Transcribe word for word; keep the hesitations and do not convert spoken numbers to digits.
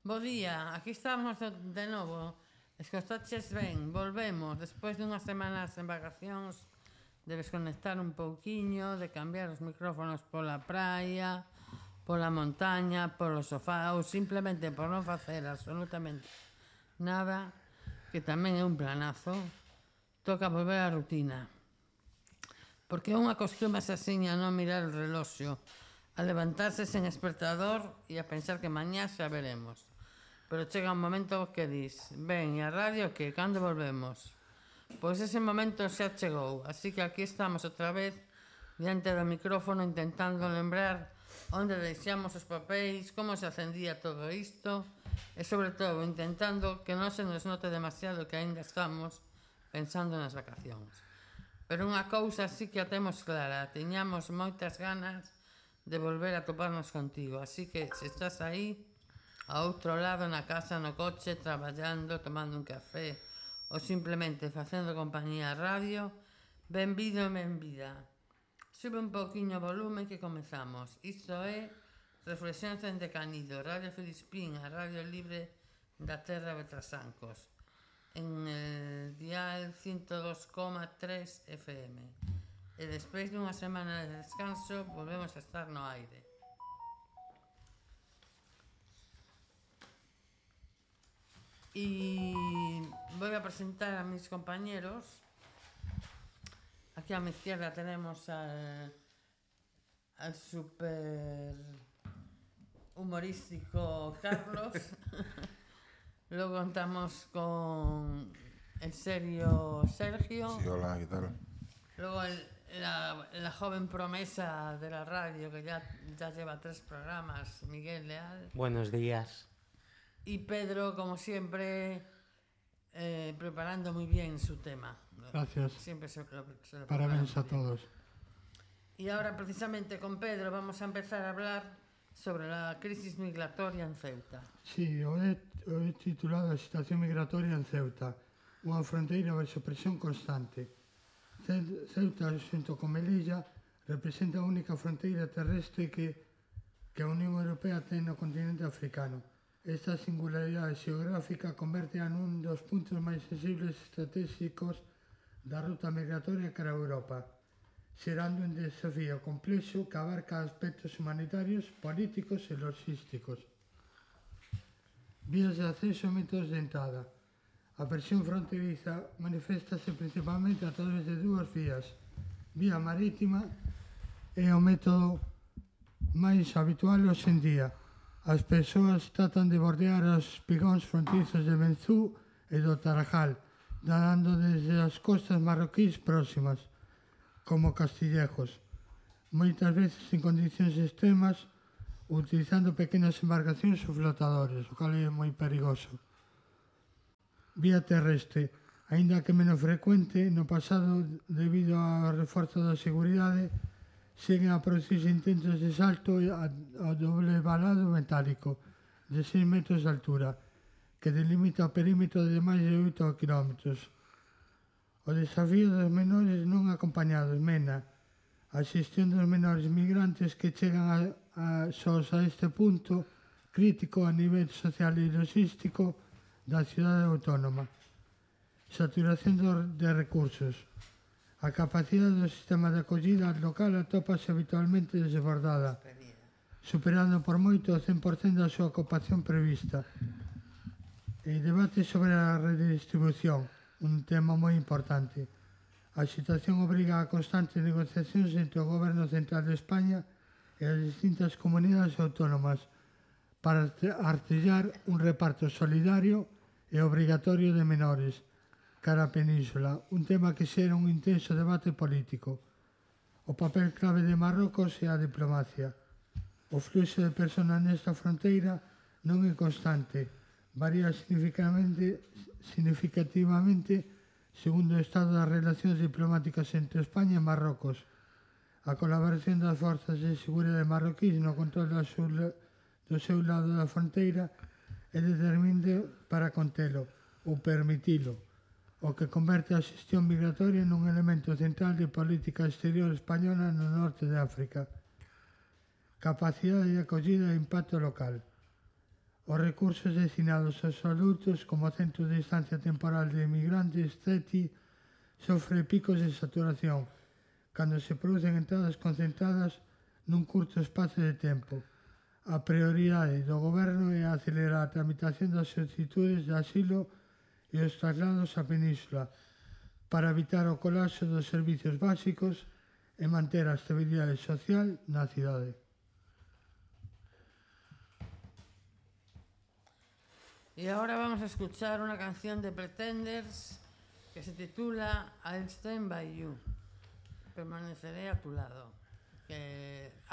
Bo día, aquí estamos de novo. Escoitaches ben, volvemos despois dunhas semanas en vacacións de desconectar un pouquiño, de cambiar os micrófonos pola praia, pola montaña, polo sofá ou simplemente por non facer absolutamente nada, que tamén é un planazo. Toca volver á rutina, porque unha costuma asasiña non mirar o reloxo, a levantarse sen despertador e a pensar que mañá xa veremos. Pero chega un momento que dis, ben, e a radio que, cando volvemos? Pois ese momento xa chegou, así que aquí estamos outra vez diante do micrófono intentando lembrar onde deixamos os papéis, como se acendía todo isto e, sobre todo, intentando que non se nos note demasiado que aínda estamos pensando nas vacacións. Pero unha cousa sí que a temos clara, tiñamos moitas ganas de volver a toparnos contigo, así que se estás aí a outro lado na casa, no coche, traballando, tomando un café ou simplemente facendo compañía a radio, benvido e benvida. Sube un pouquiño o volumen que comezamos. Isto é Reflexións dende Canido, Radio Filispín, a radio libre da terra de Trasancos, en el dial ciento dos coma tres F M. E despois dunha semana de descanso volvemos a estar no aire. Y voy a presentar a mis compañeros. Aquí a mi izquierda tenemos al, al super humorístico Carlos. Luego contamos con el serio Sergio. Sí, hola, ¿qué tal? Luego el, la, la joven promesa de la radio que ya, ya lleva tres programas, Miguel Leal. Buenos días. Y Pedro, como siempre, eh, preparando muy bien su tema. Gracias. Siempre se lo, se lo Parabéns a todos. Y ahora, precisamente, con Pedro vamos a empezar a hablar sobre la crisis migratoria en Ceuta. Sí, o he, o he titulado a situación migratoria en Ceuta, unha fronteira baixo presión constante. Ceuta, xunto con Melilla, representa a única fronteira terrestre que, que a Unión Europea ten no continente africano. Esta singularidade xeográfica converte nun dos puntos máis sensibles estratégicos da ruta migratoria cara a Europa, xerando un desafío complexo que abarca aspectos humanitarios, políticos e logísticos. Vías de acceso e métodos de entrada. A presión fronteriza maniféstase principalmente a través de dúas vías. Vía marítima é o método máis habitual hoxe en día. As persoas tratan de bordear os pigóns fronteizos de Benzú e do Tarajal, nadando desde as costas marroquís próximas, como Castillejos, moitas veces en condicións extremas, utilizando pequenas embarcacións ou flotadores, o cal é moi perigoso. Vía terrestre, aínda que menos frecuente, no pasado, debido ao reforzo da seguridade, seguen a producirse intentos de salto ao doble valado metálico de seis metros de altura, que delimita o perímetro de máis de oito kilómetros. O desafío dos menores non acompañados, MENA, a xestión dos menores migrantes que chegan a, a, sós a este punto crítico a nivel social e logístico da cidade autónoma. Saturación de recursos. A capacidade do sistema de acollida local atópase habitualmente desbordada, superando por moito o cen por cento da súa ocupación prevista. E debate sobre a redistribución, un tema moi importante. A situación obriga a constantes negociacións entre o Goberno Central de España e as distintas comunidades autónomas para artellar un reparto solidario e obrigatorio de menores cara a Península, un tema que xera un intenso debate político. O papel clave de Marrocos é a diplomacia. O fluxo de persoas nesta fronteira non é constante, varía significativamente, significativamente segundo o estado das relacións diplomáticas entre España e Marrocos. A colaboración das forzas de seguridade marroquís no control do seu, do seu lado da fronteira é determinante para contelo ou permitilo, o que converte a xestión migratoria nun elemento central de política exterior española no norte de África. Capacidade de acollida e impacto local. Os recursos destinados aos adultos como Centro de Estancia Temporal de Emigrantes, C E T I, sofre picos de saturación cando se producen entradas concentradas nun curto espazo de tempo. A prioridade do Goberno é acelerar a tramitación das solicitudes de asilo e os traslados á Península para evitar o colapso dos servicios básicos e manter a estabilidade social na cidade. Y ahora vamos a escuchar una canción de Pretenders que se titula I'll Stand By You. Permaneceré a tu lado. Que